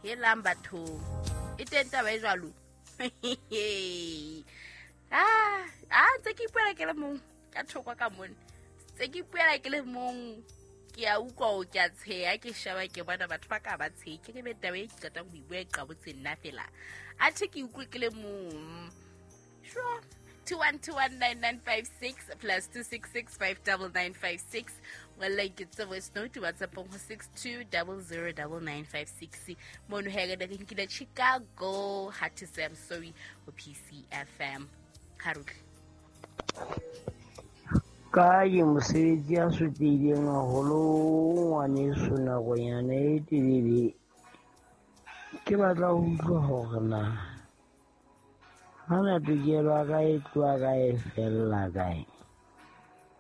Helang bathong, e teng taba e jwalo. Ah, ntse ke ipuela ke le mong ka thoko ka mone, tse ke ipuela ke le mong, ke a utlwa o ke a tsheya, ke sheba ke bona batho ba ka ba tshehe, ke ke be taba e ke qetang ho e bua e qabotse nna fela, athe ke utlwe ke le mong. Sure. 21219956 plus 266 59956. Well, like it's a voice note, WhatsApp ho 62009956. Mono he re nkile Chicago, Hard to Say I'm Sorry ho PCFM. Haruki. Ka ke mosebetsi a sotlehileng haholo, ngwaneso, nakonyana e telele. Ke batla ho utlwa hore na hana tokelo ya ka e tloha kae, e fella kae,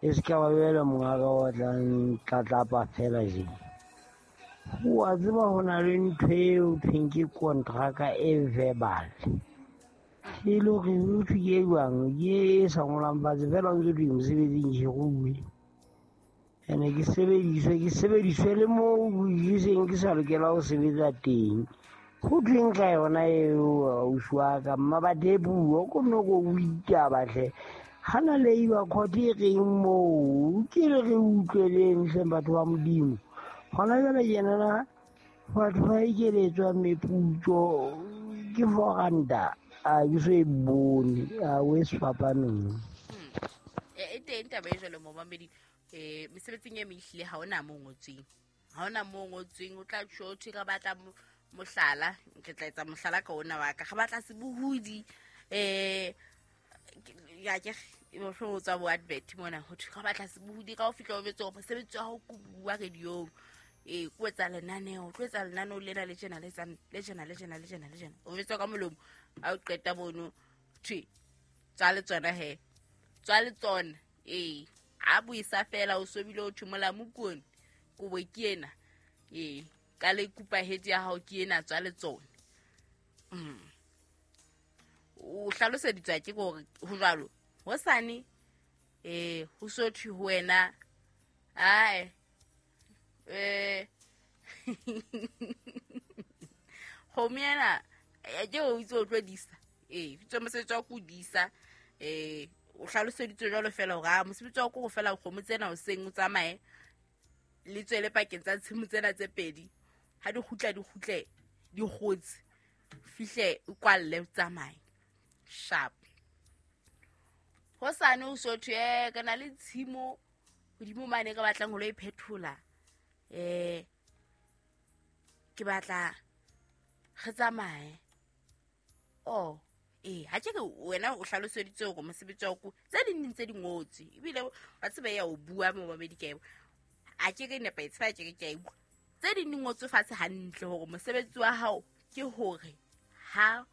e se ka ba jwale mongaka o tlang tlatlapa fela je. Wa tseba, ho na le ntho eo thweng ke kontraka e verbal, e le hore ho thwe ke e jwang, ke e sa ngolang fatshe fela, o ntse thwe mosebetsing ke rue ene ke sebediswe le moo ke seng ke sa lokela ho sebetsa teng. Ho thweng ka yona eo, ausi wa ka? Mmabathe puo ko nno ko o itaba hle, hana labour court e reng moo? Ke re re utlweleng hleng, batho ba Modimo. Gona jwale tjenana batho ba ekeletswa meputso ke 4 ranta, a ke so e bone a o e sefapanong. E teng taba e jwalo, momamedi. Mesebetsing e mehlile ha ona mo ngotsweng, ha ona mo ngotsweng. O tla tjho thwe re batla mohlala, ke tla etsa mohlala ka ona wa ka, re batla sebohodi. Ya ke mohlomong o tswa bo advert mona, ho thwe re batla sebohodi. Ka o fihla o betse hore mosebetsi wa hao ko bua radiong, ko etsa lenaneo, tlo etsa lenaneo lena le tjena, le tsang le tjena, le tjena, le tjena, le tjena, o betswa ka molomo. Ha o qeta mono, thwe tswa le tsona, he tswa le tsona. Ee, a buisa fela, o sobile, o thwe molamu kone, kobo ke ena, ee, ka le kupa hedi ya hao ke ena, tswa le tsona. O hlaloseditswa ke gore ho jwalo. Hosane ho so thwe ho wena, ae, kgomo ena, ke o itse o tlo disa, ee, itse mosebetsi wa ko disa. O hlaloseditswe jwalo fela hore a mosebetsi wa ko go fela kgomo tsena hoseng, o tsamaye le tswele pakeng tsa tshimo tsena tse pedi, ha di kgutla, di kgutle di kgotse, fihle o kwalle, o tsamaye sharp. Hosane o so thwe, ke na le tshimo hodimo mane, ka batlang ho lo e phethola, ke batla re tsamaye. Oh, ee, ha ke re wena o hlaloseditse hore mosebetsi wa ko tse ding ding tse di ngotswe, ebile wa tseba ya o bua mo babedi ka e a ke re nepahetse fa ke re ke a e bua, tse ding di ngotswe fatshe hantle hore mosebetsi wa hao ke hore ha